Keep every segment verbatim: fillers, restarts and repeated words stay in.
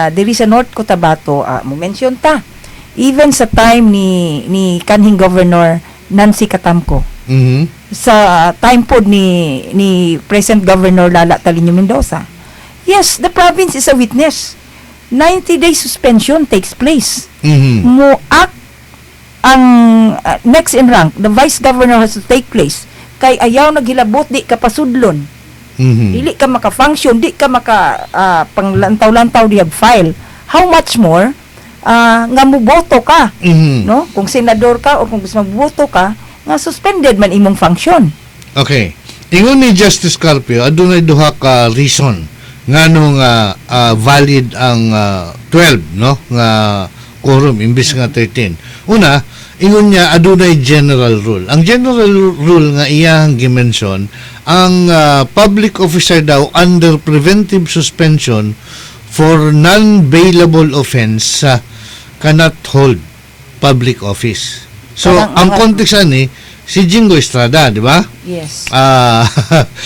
Diri sa North Cotabato, ah, mo mention ta even sa time ni ni kanhing Governor Nancy Catamco, Mhm. sa time pod ni ni present Governor Lala Taliño Mendoza. Yes, the province is a witness. ninety day suspension takes place. Mhm. Mo act ang uh, next in rank, the vice governor has to take place kay ayaw naghilabot, di ka pasudlon. Mhm. Dili ka maka-function, di ka maka ah, panglantaw-lantaw dihag file. How much more ah, nga muboto ka, Mhm. no? Kung senador ka o kung gusto magboto ka nga suspended man imong function. Okay. Ingon ni Justice Carpio, adunay duha ka reason ngano nga ah, valid ang ah, twelve, no, nga quorum imbis nga thirteen. Una, ingon niya adunay general rule. Ang general rule nga iyang gimension, ang ah, public officer daw under preventive suspension for non-bailable offense ah, cannot hold public office. So, Parang ang mga- context ani si Jinggoy Estrada, di ba? Yes. Ah,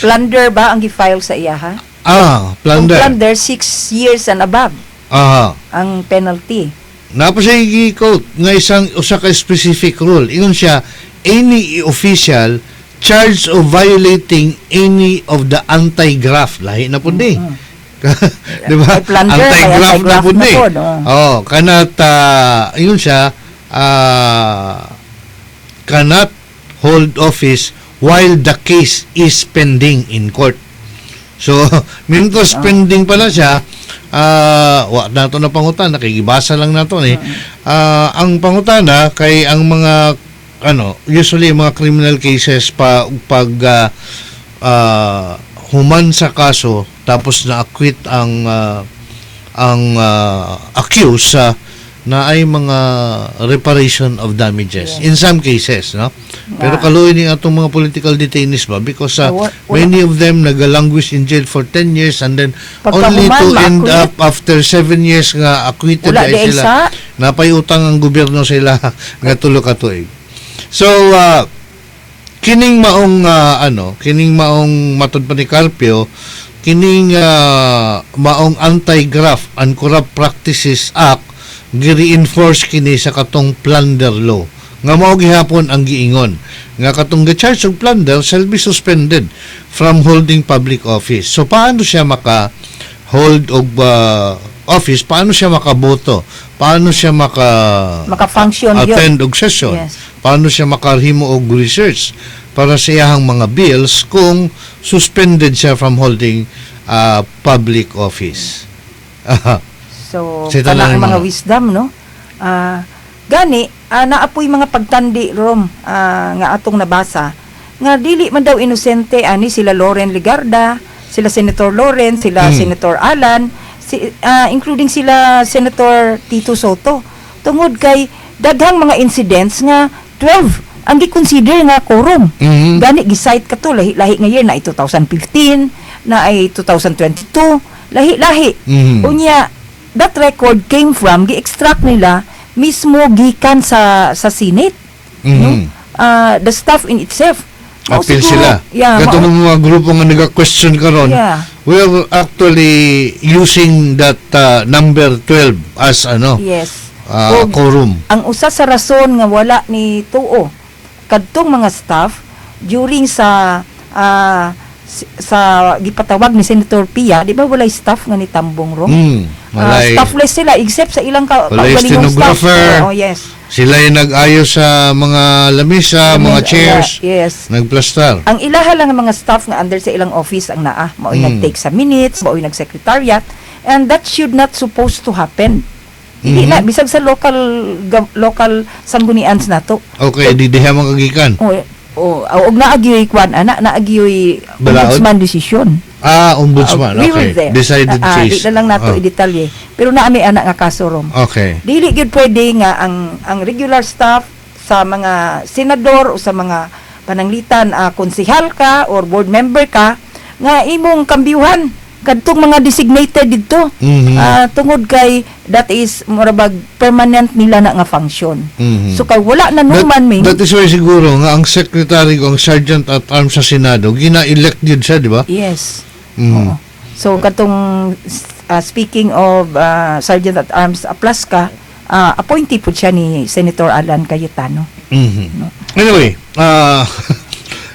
Plunder ba ang gi-file sa iya ha? Ah, Kung plunder. Plunder, six years and above Ah. ang penalty. Naa pa siya gi-quote nga isang usa ka specific rule. Ingon siya, any official charged of violating any of the anti-graft, lahi na pud ni. Di ba? May plunder, may Anti-graft na anti-graft pud na ni. pod, oh. Oh, cannot uh, ingon siya ah, cannot hold office while the case is pending in court. So, mientras pending pala siya, ah wa nato na pangutana kay gibasa lang nato ni. Ah, ang pangutana kay ang mga ano, usually mga criminal cases pa pag ah, ah, human sa kaso tapos na-acquit ang ah, ang ah, accused sa na ay mga reparation of damages in some cases, no? Pero Nga. Kaluoy ni atong mga political detainees ba because uh, Wa- wala. Many of them nagalanguish in jail for ten years and then Pagkahuman, only to end ma-acquit. Up after seven years nga acquitted Wala ay di ay sila. sa. Napay utang ang gobyerno sila nga tulo ka tuig. So uh, kining maong ah, ano, kining maong matod pa ni Carpio, kining ah, maong Anti-Graft and Corrupt Practices Act, gi-reinforce kini sa katong plunder law nga mao gihapon ang giingon nga katong gi-charge og plunder shall be suspended from holding public office. So paano siya maka hold og ah, office? Paano siya makaboto? Paano siya maka Maka-function yun. Attend og session? Yes. Paano siya makahimo og research para sa iyahang mga bills kung suspended siya from holding uh, public office? So, Sa kana tanan ang mga mga- wisdom, no? Ah, gani, ah, naa poy mga pagtandi rom ah, nga atong nabasa nga dili man daw inosente ani sila Loren Legarda, sila Senator Loren, sila Mm. Senator Alan, si, ah, including sila Senator Tito Sotto. Tungod kay daghang mga incidents nga twelve ang gi-consider nga quorum. Mhm. Gani gi-cite kato lahi-lahi nga year na ay twenty fifteen, na ay twenty twenty-two, lahi-lahi. Mhm. Unya that record came from gi-extract nila mismo gikan sa sa Senate. Mhm. No? Ah, the staff in itself. Mao Appeal siguro- sila. Yeah, Katong mao- mga grupo nga nag-question karon, Yeah. we're actually using that uh, number twelve as ano, Yes. uh, Og quorum. Ang usa sa rason nga wala ni tuo kadtong mga staff during sa ah, si- sa gipatawag ni Senator Pia, di ba walay staff nga ni tambong ro? Mm, Ah, walay, staffless sila except sa ilang ka Walay kaugalingong staff. stenographer. Oh, yes. Sila yung nag-ayos sa mga lamisa, mga chairs, Yes. nagplastar. Ang ilaha lang ang mga staff nga under sa ilang office ang naa, mao'y Mm. nag-take sa minutes, mao'y nag-secretariat, and that should not supposed to happen. Hindi Mhm. na bisag sa local gov- local sanggunians nato. Okay, di diha man kagikan. O o og naa gyoy kwan ana, naa gyoy Balaod? Ombudsman decision. Ah, ombudsman. Uh, we were okay. there. Decided Ah, case. Di na lang nato Ah, i-detalye. Pero naa may ana nga kaso rom. Okay. Dili gyud pwede nga ang ang regular staff sa mga senador o sa mga pananglitan ah, konsehal ka or board member ka nga imong kambyuhan kadtong mga designated didto. Mhm. Ah, tungod kay that is murabag permanent nila na nga function. Mhm. So kay wala na That, numan ming that is why siguro nga ang secretary ko, ang sergeant at arms sa Senado, gina-elect yun siya, di ba? Yes. Mhm. Oo. So katong uh, speaking of uh, Sergeant at Arms Aplasca, uh, appointee po siya ni Senator Alan Cayetano. Mhm. Anyway, uh,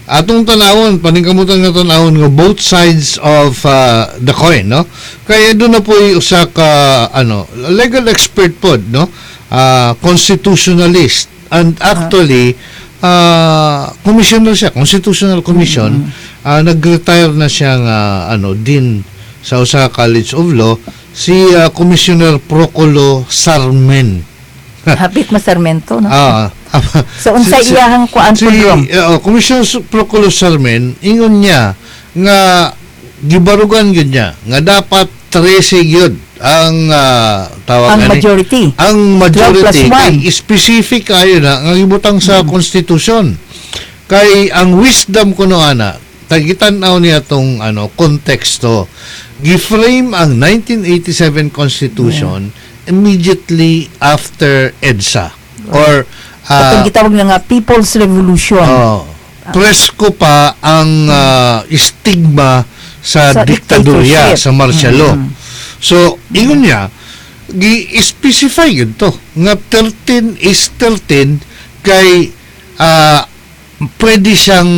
atong tanawon, paningkamutan nga tanawon nga both sides of uh, the coin, no? Kaya doon na po usa ka ano, legal expert pod, no? Uh, constitutionalist and actually uh, commissioner siya, Constitutional Commission, uh, nag-retire na siya nga ano din sa usa ka College of Law si uh, Commissioner Procolo Sarmen. Hapit masarmento, no? Ah, So unsay si- si- iyahang kuan si po Rom? uh, Commissioner Procolo Sarmen ingon niya nga gibarugan gyud niya nga dapat trese gyud ang ah, tawag Ang ani? Majority. Ang majority. twelve plus one. Kay specific kayo na nga gibutang sa konstitusyon, kay ang wisdom kuno ana tagitan-aw niya tong ano konteksto. Gi-frame ang nineteen eighty-seven Constitution immediately after EDSA or ah, Katong gitawag na nga People's Revolution. Oh, presko pa ang ah, stigma sa, Sa diktadurya, dictatorship. Sa martial law. Mm. So, ingon niya, gi-specify yun to nga thirteen is thirteen kay ah, pwede siyang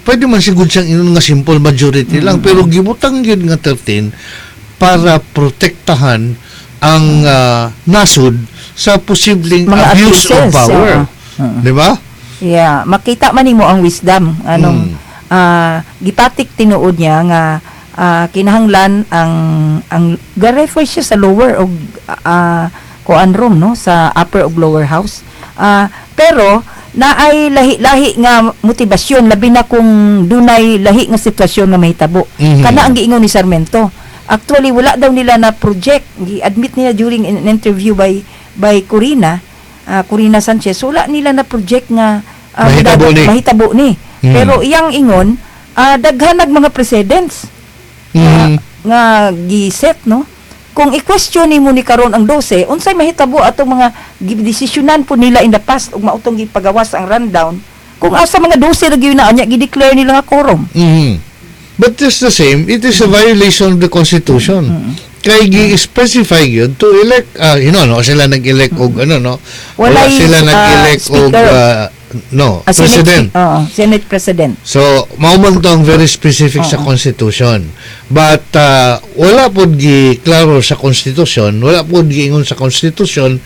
pwede man siguro siyang ingon nga simple majority lang, pero gibutang yun nga thirteen para protektahan ang ah, nasod sa posibleng Mga abuse of abuses, power. Oo. Oo. Di ba? Yeah, makita man nimo ang wisdom anong Mm. ah, gipatik tinuod niya nga ah, kinahanglan ang ang ga-refer siya sa lower og ah, kuan room, no, sa upper ug lower house. Ah, pero naay lahi-lahi nga motibasyon, labi na kung dunay lahi nga sitwasyon nga mahitabo. Mhm. Kana ang giingon ni Sarmento. Actually, wala daw nila na project. Gi-admit niya during an interview by by Corina, ah, Corina Sanchez, wala nila na project nga ah, Mahitabo ni. Mahitabo ni. Mm. Pero iyang ingon, ah, daghan nag mga precedents Mm. nga gi-set, no? Kung i-question nimo ni karon ang dose, unsay mahitabo atong mga gidesisyonan po nila in the past ug mautong gipagawas ang rundown kung asa mga dose ra gyud na anya gi-declare nila nga quorum? Mhm. But just the same, it is a violation of the Constitution. Kay gi-specify yun to elect, ah, you know, no, sila nag-elect og ano, no? Wala Walay, sila ah, nag-elect og, speaker. ah, no, Ah, Senate- president. Oo, Senate President. So, mao man to ang very specific sa Oo. Constitution. But uh, wala pod gi klaro sa Constitution, wala pod giingon sa Constitution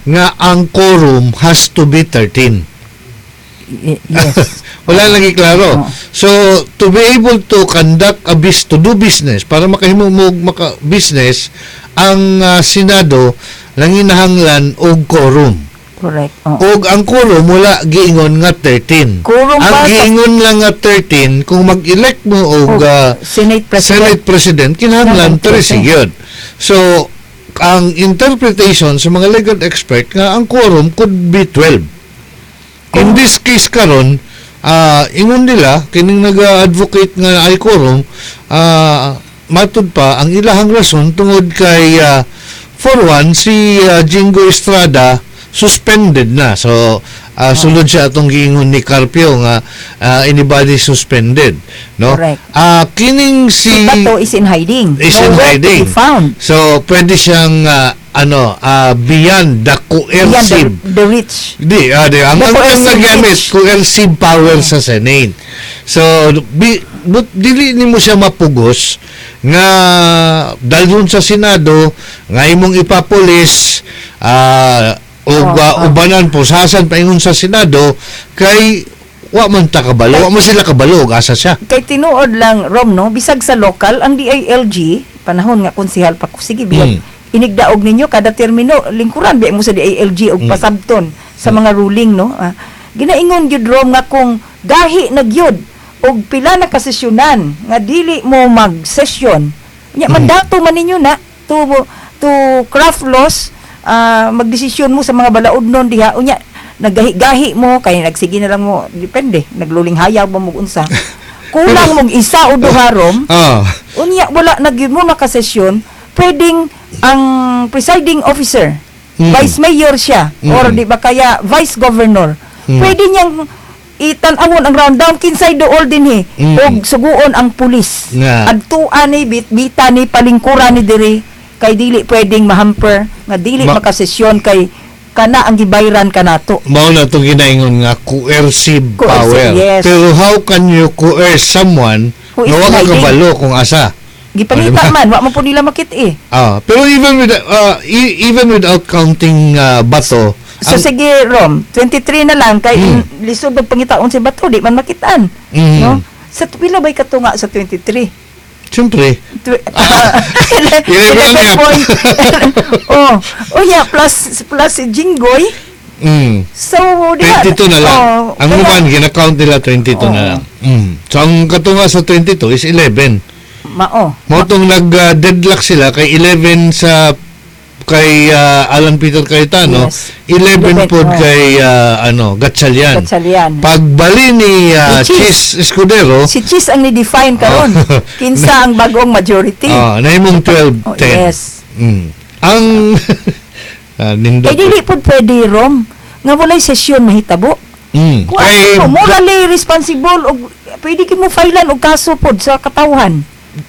nga ang quorum has to be thirteen. Y- yes. Wala lagi klaro. Oo. So, to be able to conduct a bis to do business, para makahimo mo og maka business, ang uh, Senado nanginahanglan og quorum. Correct. Oo. Og ang quorum wala giingon nga thirteen. Quorum Ang ba sa- giingon lang nga thirteen kung mag-elect mo og Og uh, Senate President. Senate President, kinahanglan Kinahanglan thirteen gyud. So, ang interpretation sa mga legal expert nga ang quorum could be twelve. In this case karon, ah ingon nila kining nag-advocate nga ay quorum, ah matud pa ang ilahang rason tungod kay ah, for one, si ah, Jingo Estrada suspended na. So ah, sulod siya atong giingon ni Carpio nga ah, anybody suspended, no? Correct. Ah kining si Si Bato is in hiding. Is in Nowhere hiding. to be found. So pwede siyang ah, ano ah, beyond the Beyond coercive the, the reach. Di, ah, di. Ang The ang, ang coercive nagamit, reach. Coercive power sa Senate. So, bi, but, dili nimo siya mapugos nga dalhon sa Senado nga imong ipapulis ah o Oh, oh. ubanan pusasan paingon sa Senado kay wa man ta kabalo, wa man sila kabalo og asa siya. Kay tinuod lang, Rom, no, bisag sa local ang D I L G, panahon nga konsehal pa ko, sige biyag Mm. inigdaog ninyo kada termino, lingkuran biya mo sa D I L G og Mm. pasabton sa mga ruling, no. Ah, ginaingon gyud, Rom, nga kung gahi na gyud og pila na kasesyonan nga dili mo mag-session nya, Mm. mandato man ninyo na to to craft laws, ah, magdesisyon mo sa mga balaod nun diha, unya naggahi-gahi mo kay nagsige na lang mo, depende nagluling hayaw ba mo unsa, kulang mong isa o duha, Rom, Ah, unya wala na gyud mo nakasesyon, pwedeng ang presiding officer, Mm. vice mayor siya Mm. or di ba kaya vice governor, Mm. pwede niyang itan-awon ang rundown kinsay duol dinhi Mm. og suguon ang pulis Nga. adtuan ni bitbita ni palingkuran ni diri. Kay dili pwedeng mahamper nga dili Ma- makasesyon kay kana ang gibayran kanato. Mao na itong ginaingon nga coercive Coercive, power. yes. Pero how can you coerce someone Who is nga wa ka hiding? kabalo kung asa? Gipangita Oh, diba? man, wa man po nila makit eh. Ah, pero even with uh, e- even without counting uh, Bato, So ang- sige Rom, twenty-three na lang kay Mm. lisod og pangitaon si Bato, di man makitaan. Mm. No? Sa pila bay katunga sa twenty-three? Siyempre, Tw- Eleven eleven nga. point. oh, oh yeah, plus plus si Jinggoy. mm, So, di ba? twenty-two na lang. Oh, Ang kaya- uban gina-count nila twenty-two na Oo. lang. Mm. So ang katunga sa twenty-two is eleven. Mao. Mao tong nag-deadlock sila kay eleven sa kay ah, Alan Peter Cayetano, Yes. eleven eleven, pod oh. kay ah, ano, Gatchalian. Gatchalian. Pagbali ni ah, Ni Chiz. Chiz Escudero, Si Chiz ang ni-define karon. Oh. Kinsa ang bagong majority. ah, nahimong twelve ten. Oh, yes. Mm. Ang ah, nindot. Kay dili pod pwede, Rom, nga walay sesyon mahitabo. Mm. Kung Kay ano, morally responsible og pwede kimo filean og kaso pod sa katawhan.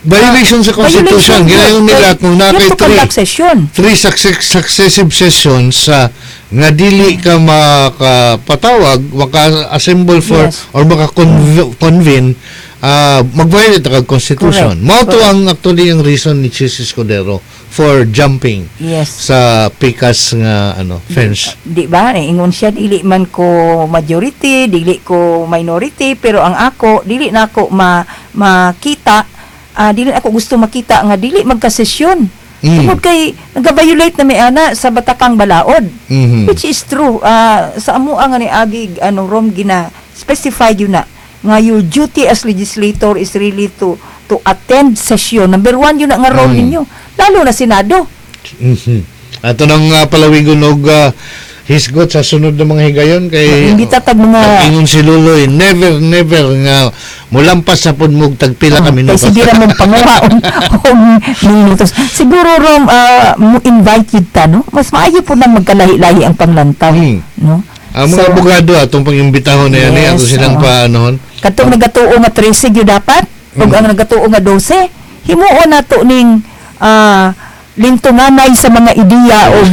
Violation sa Constitution. Violation, Ginayon yes. nila kung You na have kay to three, conduct session. Three success, successive sessions sa nga dili ka makapatawag, maka-assemble for Yes. or maka-convene, uh, mag-violate ka Constitution. Correct. Mao to Correct. ang actually ang reason ni Chiz Escudero for jumping Yes. sa pikas nga ano fence. Di ba? Ingon siya, dili man ko majority, dili ko minority, pero ang ako dili na ako ma makita, ah, dili ako gusto makita nga dili magkasesyon. Mm. Tungod kay nag-violate na may ana sa batakang balaod. Mhm. Which is true. Ah, sa amo nga ni agi ano, Rom, gina specify yun na nga your duty as legislator is really to to attend session. Number one yun na nga role Mm. ninyo. Lalo na Senado. Mhm. Ato nang uh, palawigon og uh, hisgot sa sunod na mga higayon kay Imbita tag mga ingon si Luloy, never never nga mulampas sa pud mog tagpila ka Kay minutos. sige ra mong panguha og og minutos. Siguro, Rom, ah, mo invite yun ta, no? Mas maayo po nang magkalahi-lahi ang panglantaw, Hmm. no? Ang mga So, abogado atong pangimbitahon na yan, eh, Yes, ato silang oo. paanohon. Katong nagatuo nga thirteen gyud dapat ug Mm. ang nagatuo nga twelve, himuon nato ning ah, lintunganay sa mga ideya og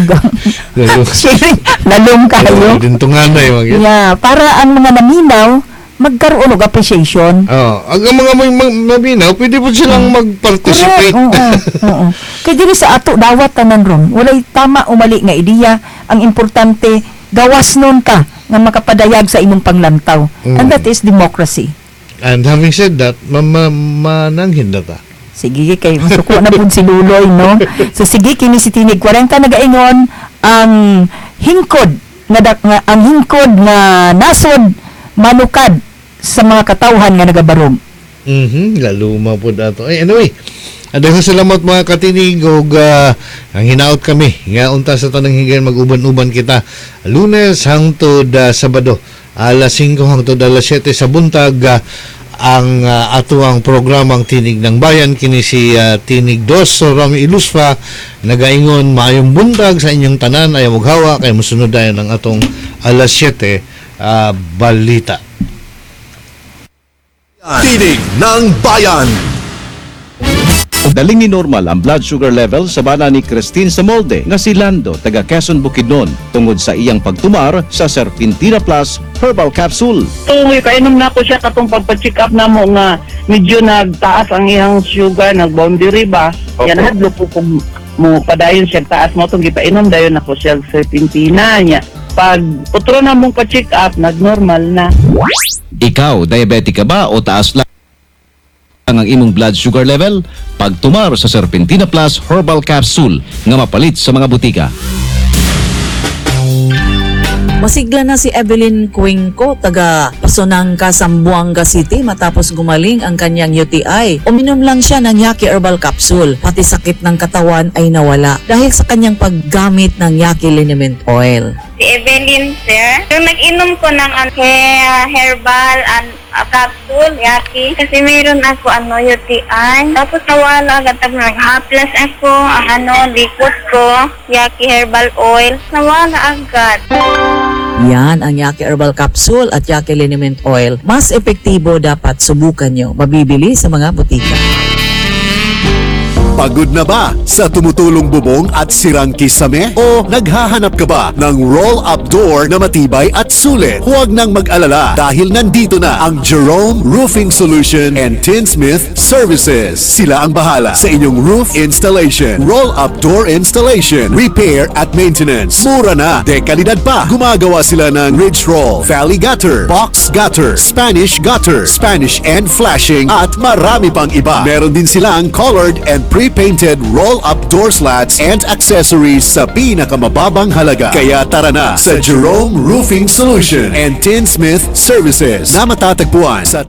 sharing lalom kayo. Dintunganay mga gyud. Yeah, para ang mga naminaw magkaroon og appreciation. Oh, ang mga may ma- maminaw, pwede po silang mag-participate. Correct. Oo, oo. Kay diri sa ato dawat tanan, Rom. Walay tama o mali nga ideya. Ang importante gawas nun ka nga makapadayag sa imong panglantaw. Mm. And that is democracy. And having said that, ma ma mananghin na ta. Sige kay masuko na pud si Luloy, no. So sige, kini si Tinig forty nagaingon ang hingkod nga, dak- nga ang hingkod nga nasod manukad sa mga katawhan nga nagabarog. Mhm, lalo mapud ato. Ay, anyway, daghang salamat, mga katinig, ug ah, ang hinaot kami nga unta sa tanang higayon mag-uban-uban kita Lunes hangtod ah, Sabado, alas singko hangtod alas siyete sa buntag, ah, ang uh, atuang programang Tinig ng Bayan. Kini si ah, Tinig dos so Rami Ilusfa nagaingon maayong buntag sa inyong tanan. Ayaw maghawa kay mosunod dayon ang atong alas siyete ah, balita. Tinig ng Bayan. Daling ni normal ang blood sugar level sa bana ni Christine Samolde nga si Lando taga Quezon, Bukidnon tungod sa iyang pagtumar sa Serpentina Plus Herbal Capsule. Kung kainom na ako siya katong pagpa-check up na mo nga medyo nagtaas ang iyang sugar, nag-boundary ba. Yan hadlo po kung mo padayon siya taas mo itong gipainom dayon ako siya serpentina niya. Pag utro na mong pa-check up, nag-normal na. Ikaw, diabetic ka ba o taas lang ang imong blood sugar level? Pagtumar sa Serpentina Plus Herbal Capsule nga mapalit sa mga butika. Masigla na si Evelyn Cuenco, taga Pasonangka, Zamboanga City matapos gumaling ang kanyang U T I. Uminom lang siya ng Yaki Herbal Capsule. Pati sakit ng katawan ay nawala dahil sa kanyang paggamit ng Yaki Liniment Oil. Si Evelyn, sir. Yung nag-inom ko ng ano, hair, herbal and uh, capsule, Yaki. Kasi mayroon ako ano, U T I. Tapos nawala agad. Tapos nag-haplas ako, ang ano, likot ko, Yaki herbal oil. Nawala agad. Yan ang Yaki Herbal Capsule at Yaki Liniment Oil. Mas epektibo, dapat subukan nyo. Mabibili sa mga butika. Pagod na ba sa tumutulong bubong at sirang kisame? O naghahanap ka ba ng roll-up door na matibay at sulit? Huwag nang mag-alala dahil nandito na ang Jerome Roofing Solution and Tinsmith Services. Sila ang bahala sa inyong roof installation, roll-up door installation, repair at maintenance. Mura na, de-kalidad pa. Gumagawa sila ng ridge roll, valley gutter, box gutter, Spanish gutter, Spanish end flashing at marami pang iba. Meron din silang colored and pre-painted roll-up door slats and accessories sa pinakamababang halaga. Kaya tara na sa Jerome Roofing Solution and Tinsmith Services na matatagpuan sa